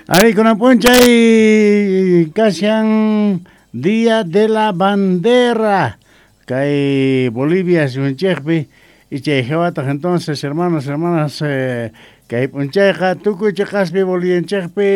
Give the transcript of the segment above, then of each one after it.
Ari kunan p'unchay kashan Día de la Bandera kay Bolivia suyunchikpi y chay hawataq entonces, hermanos, hermanas, kay p'unchayqa tukuy chiqaspi Bolivianchikpi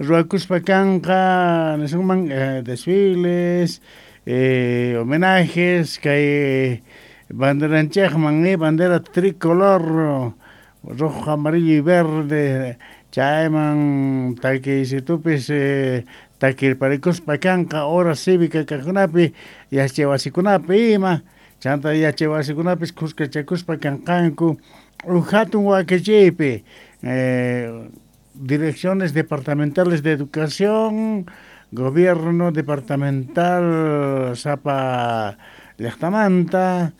ruwakuspa kanqa nisunman desfiles, homenajes kay banderanchikman, bandera tricolor rojo, amarillo y verde, chayman takiysitupis takirparikuspa kanqa hora cívica kaqkunapi, yachay wasikunapi ima, chanta yachay wasikunapis khuskachakuspa kanqanku uj hatun wakichiypi, direcciones departamentales de educación, gobierno departamental sapa llaqtamanta,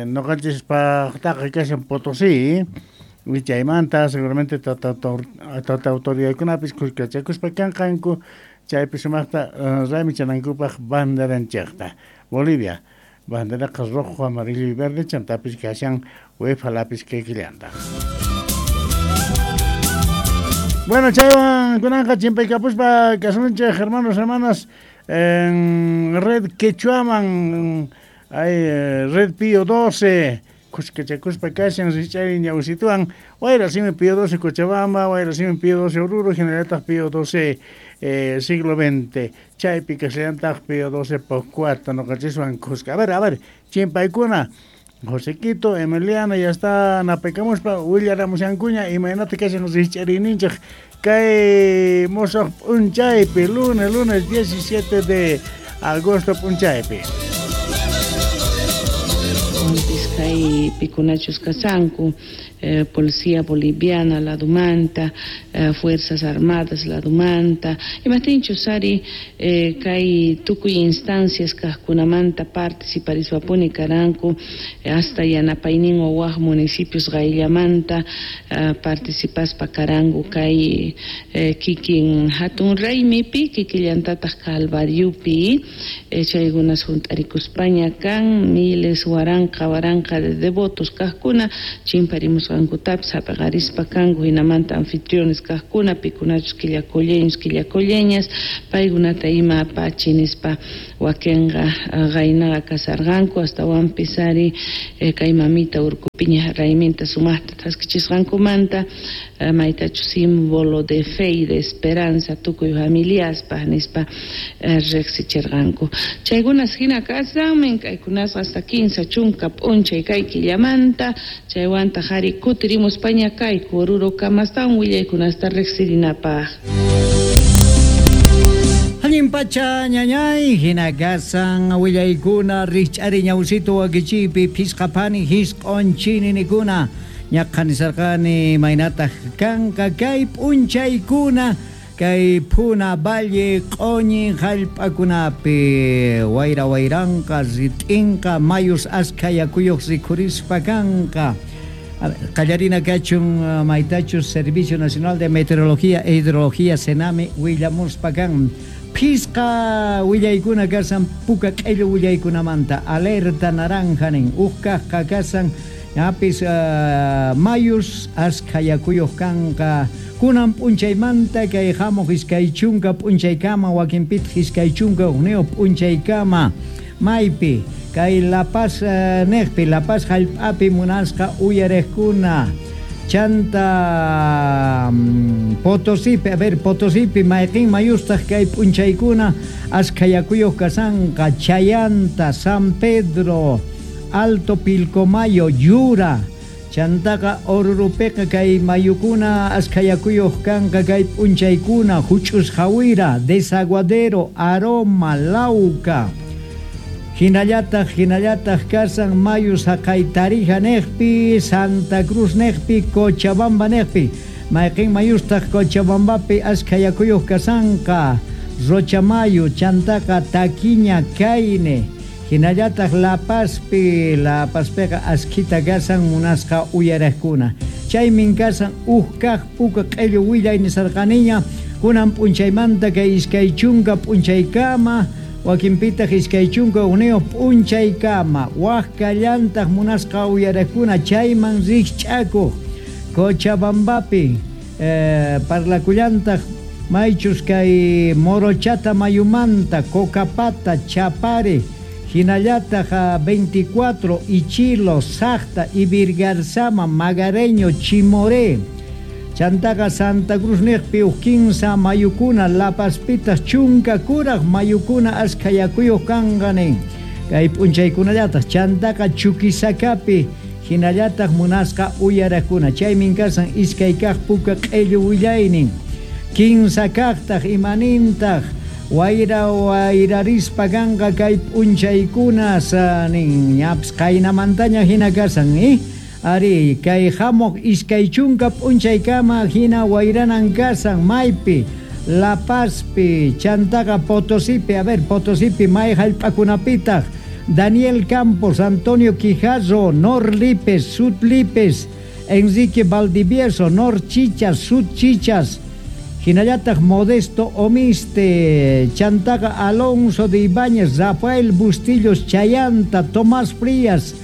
noqanchispaqtaqa kashan Potosí, wichaymanta seguramente tata autoridadkunapis khuskachakuspa kanqanku chaypi sumaqta raymichanankupaq banderanchikta. Bolivia, banderaqa rojo, amarillo y verde, chantapis kashan UEFA lapis kikillantaq. Bueno, chaywan kunanqa chimpaykapuspa kasunchik, hermanos, hermanas, en Red Quechuaman, hay Red Pío 12, khuskachakuspa kashan rich'ari ñawsituwan, wayra simi Pío 12 Cochabamba, wayra simi Pío 12 Oruro, hinallataq Pío 12 siglo XX, chaypi kashallantaq Pío 12 Pocuata, noqanchiswan khuska. A ver, chimpaykuna, Josequito, Emiliano, ya está napaykamuspa, willaramushankuña, imaynata kashan rich'ariyninchik kay mosoq p'unchaypi, lunes 17 de agosto p'unchaypi. Kay pikunachus kasanku, Policía Boliviana ladumanta, Fuerzas Armadas ladumanta, imaptinchus ari kay tukuy instancias kaqkunamanta participariswapuni karanku, hasta yanapaynin waj municipios qayllamanta participaspa karanku kay kikin hatun raymipi, kikillantataq Calvariopi, chaykunas hunt'arikuspaña kan miles waranqa waranqa de devotos kaqkuna chimparimusqankutapis hap'iqarispa kanku, hinamanta anfitriones kaqkuna pikunachus quillacolleños quillacolleñas paykunata ima apachi nispa wakinqa qaynaqa kasarqanku, astawanpis ari kay mamita urkupiña rayminta sumaqta thaskichisqankumanta maytachu símbolo de fe y de esperanza tukuy familiaspaq nispa riqsichirqanku. Chaykunas hina kasanmin kaykunasqa hasta 15 chunka p'unchay kay killamanta, chaywantaq ari kutirimuspaña kayku Oruro kamastawan willaykunasta riqsirinapaq. Allin pacha ñañay, hina kasan willaykuna rich'ari ñawsito wakichiypi phisqapani hisq'on chininikuna ñaqhanisarqani maynataq kanqa kay p'unchaykuna kay Puna Valle q'oñi hallp'akunapi wayra wayranqa rit'inqa mayus askha yakuyuq rikhurispa kanqa. Qallarina kachun maytachus Servicio Nacional de Meteorología e Hidrología Senami willamuspa kan. Phisqa willaykuna kasan puka q'illu willaykunamanta alerta naranja nin uj kaqqa kasan ñapis mayus askha yakuyuq kanqa kunan p'unchaymanta kay hamuq iskay chunka p'unchaykama wakinpitaq iskay chunka hukniyuq p'unchaykama maypi kay La Paz niqpi La Paz hallp'api munasqa uyariqkuna chanta Potosipi, a ver, Potosipi mayqin mayustaq kay p'unchaykuna askha yakuyuq kasanqa Chayanta, San Pedro, Alto Pilcomayo, Yura, chantaqa Orurupiqa kay mayukuna askha yakuyuq kanqa kay p'unchaykuna Huch'us Jawira, Desaguadero, Aroma, Lauca. Hinallataq kasan mayus haqay Tarija niqpi, Santa Cruz niqpi, Cochabamba niqpi. Mayqin mayustaq Cochabambapi askha yakuyuq kasanqa, Rochamayo, chantaqa Taquiña, Caine. Hinallataq La Pazpi, La Pazpiqa askhita kasan munasqa uyariqkuna. Chaymin kasan uj kaq puka q'illu willay nisarqaniña, kunan p'unchaymanta kay iskay chunka p'unchaykama, wakinpitaq iskay chunka hukniyuq p'unchaykama, waj kallantaq munasqa uyariqkuna chayman rikch'akuq Cochabambapi, Parlakullantaj maychus kay Morochata mayumanta, Cocapata, Chapare, hinallataq 24, Ichilo, Sacta, Ibirgarzama, Magareño, Chimoré, Chantaqa Santa Cruz niqpi uj kinsa mayukuna, La Pazpitaj chunka kuraj mayukuna ashkha yakuyuq kanqa nin. Kay p'unchaykunallataq chantaqa Chuquisacapi hinallataq munasqa uyaraqkuna. Chaymin kasan iskay kaq puka q'ellu willaynin. Kinsa kaqtaq imanintaq wayra wayrarispa kanqa kay p'unchaykuna nin ñapis qaynamantaña hina kasan Ari, kay hamuq iskay chunka p'unchaykama hina wayranan kasan maypi, La Pazpi, chantaqa Potosipi, a ver, Potosipi may hallp'akunapitaq, Daniel Campos, Antonio Quijarro, Nor Lipes, Sud Lipes, Enrique Valdivieso, Nor Chichas, Sud Chichas, hinallataq Modesto Omiste, chantaqa Alonso de Ibáñez, Rafael Bustillos Chayanta, Tomás Frías,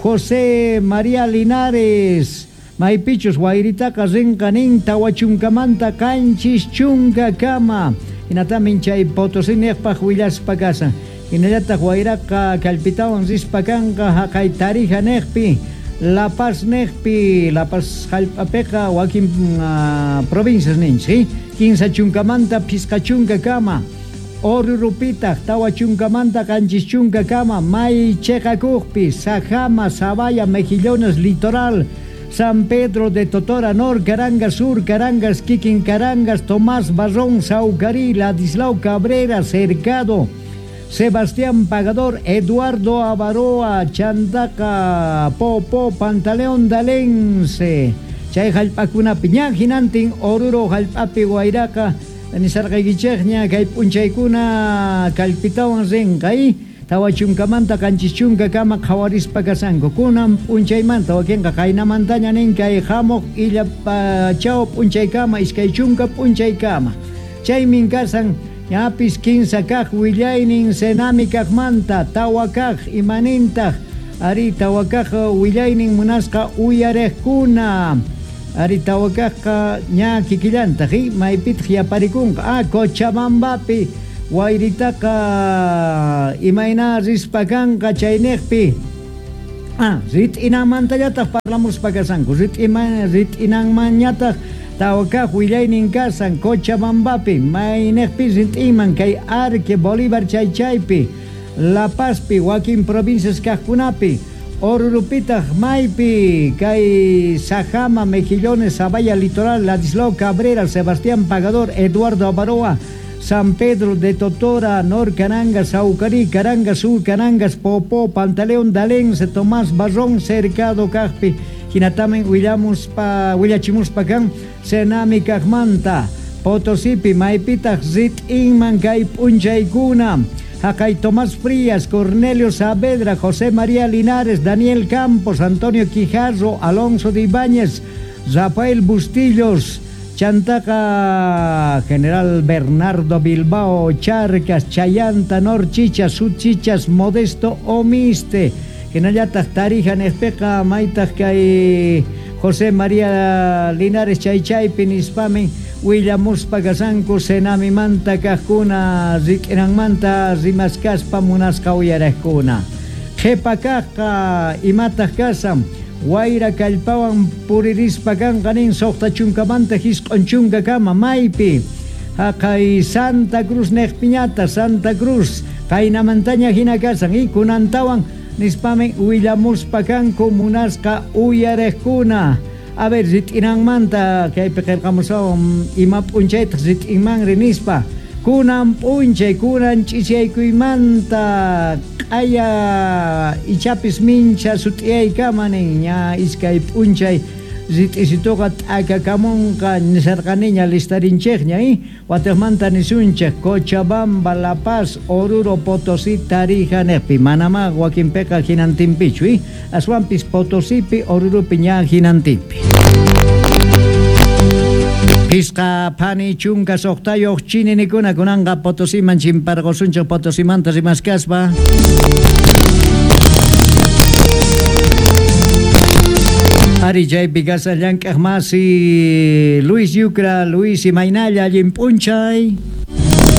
José María Linares, maypichus wayritaqa rinqa nin tawachunkamanta qanchis chunka kama, hinatamin chay Potosí niqpaq willaspa kasan, hinallataq wayraqa kallpitawan rispa kanqa haqay Tarija niqpi, La Paz niqpi, La Paz hallp'apiqa wakin provincias ninchik, kinsa chunkamanta phisqa chunka kama, Orurupitaq tawa chunkamanta qanchis chunka kama, may chiqakuqpi, Sajama, Sabaya, Mejillones, Litoral, San Pedro de Totora, Nor, Carangas, Sur, Carangas, Kikin, Carangas, Tomás Barrón, Saucarí, Ladislao Cabrera, Cercado, Sebastián Pagador, Eduardo Avaroa, Chantaca, Popo, Pantaleón Dalense, chay hallp'akunapi ña hinantin Oruro hallp'api wayraqa nisarqaykichikña kay p'unchaykuna kallpitawan rinqa tawa chunkamanta qanchis chunka kama qhawarispa kasanku kunan p'unchaymanta wakinqa qaynamantaña nin kay hamuq illa chaw p'unchaykama iskay chunka p'unchaykama chaymin kasan ñapis kinsa kaq willaynin Senami kaqmanta tawa kaq imanintaq ari tawa kaq willaynin munasqa uyariqkuna ari tawa kaqqa ña kikillantaq maypitaq yaparikunqa Cochabambapi wayritaqa imayna rispa kanqa chayniqpi rit'inanmantallataq parlamuspa kasanku rit'inanmanñataq tawa kaq willaynin kasan Cochabambapi mayniqpi rit'inman kay Arque Bolívar chay chaypi La Pazpi wakin provincias kaqkunapi Orurupitaq maypi kay Sajama, Mejillones, Sabaya, Litoral, Ladislao Cabrera, Sebastián Pagador, Eduardo Avaroa, San Pedro de Totora, Nor Carangas, Saucarí, Carangas, Sur Carangas, Popó, Pantaleón, Dalense, Tomás Barrón, Cercado, Cajpi, hinatamen willamuspa, willachimuspa kan, Senami kaqmanta, Potosipi, maypitaq rit'inman kay p'unchaykuna, haqay Tomás Frías, Cornelio Saavedra, José María Linares, Daniel Campos, Antonio Quijarro, Alonso de Ibáñez, Rafael Bustillos, Chantaca, General Bernardo Bilbao, Charcas, Chayanta, Nor Chichas, Sud Chichas, Modesto Omiste, hinallataq Tarija niqpiqa maytaq kay José María Linares chaychaypi nispamin willamuspa kasanku Senamimanta kaqkuna rik'inanmanta rimaskaspa munasqa uyariqkuna qhipa kaqqa imataq kasan wayra kallpawan puririspa kanqa nin suqta chunkamanta hisq'un chunka kama maypi haqay Santa Cruz niqpiñata Santa Cruz qaynamantaña hina kasan kunantawan nispamin willamuspa kanku munasqa uyariqkuna. A ver, rit'inanmanta kaypi qillqamusawan ima p'unchaytaq rit'inmanri nispa kunan p'unchay kunan ch'ichaykuymanta q'aya ichapis mincha sut'iyaykama nin ña iskay p'unchay rit'isituqa t'akakamunqa nisarqaniña listarinchikña watiqmanta nisunchik Cochabamba, La Paz, Oruro, Potosí, Tarija niqpi manamá wakinpiqa hinantinpichu aswanpis Potosipi, Orurupi ña hinantinpi. Pisqa phani chunka suqtayuq chininikuna kunanqa Potosiman chimparqusunchik Potosimanta rimaskaspa. Ari chaypi kashan llank'aj masi Luis Yucra. Luis, imaynalla, allin p'unchay.